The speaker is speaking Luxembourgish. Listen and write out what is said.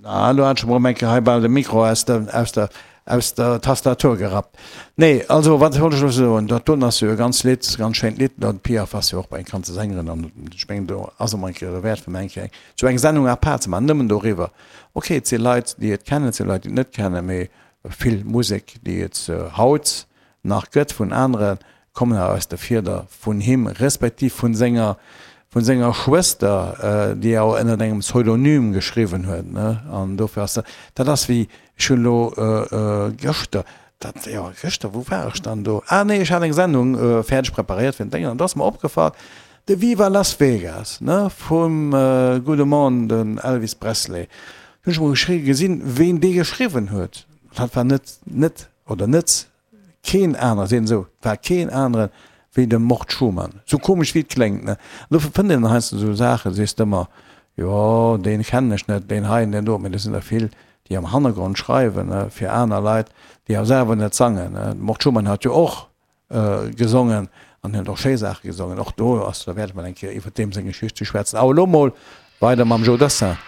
Na, lo hat ech emol eng Kéier hei bal de Mikro aus der, aus der, aus der Tastatur gerappt. Nee, also wat wollt ech elo soen, dat doen ass jo e ganz Lidd, ganz schéint Lidd. D'Edith Piaf ass jo och eng bekannte Sängerin an ech mengen do ass emol eng Kéier derwäert fir mol eng Kéier eng sou eng Sendung à part ze maachen, nëmmen doriwwer. Ok, et si Leit déi et kennen, et si Leit déi et net kennen, mee vill Musek déi et haut nach gëtt vun anere kommen awer aus der Fieder vun him, respektiv vun senger, vun senger Schwëster, déi awer ënnert engem Pseudonym geschriwwen huet, ne? An dofir ass dat, dat ass wéi, ech hunn elo gëschter, dat, jo gëschter, wou war ech dann do? Ah nee, ech hat eng Sendung fäerdeg preparéiert fir den Déngen an do ass mer opgefall, de Viva Las Vegas, ne, vum gudde Mann, den Elvis Presley. Hunn ech mol geschri, gesinn, ween dee geschriwwen huet. Dat war net, net oder net Keen anere, seet en esou, et war keen anere wéi de Mort Schumann. Sou komesch wéi et kléngt, ne? An dofir fënnt een heiansdo esou Saachen, sees de ëmmer, jo, deen kennen ech net, deen hei an deen do, mee do sinn der vill, déi am Hannergrond schreiwen, ne, fir aner Leit, déi awer selwer net sangen, ne? De Mort Schumann hat jo och gesongen an hien huet och schéi Saache gesongen. Och do ass et derwäert, emol eng Kéier iwwer deem seng Geschicht ze schwätzen. Awer elo mol weider mam Joe Dassin.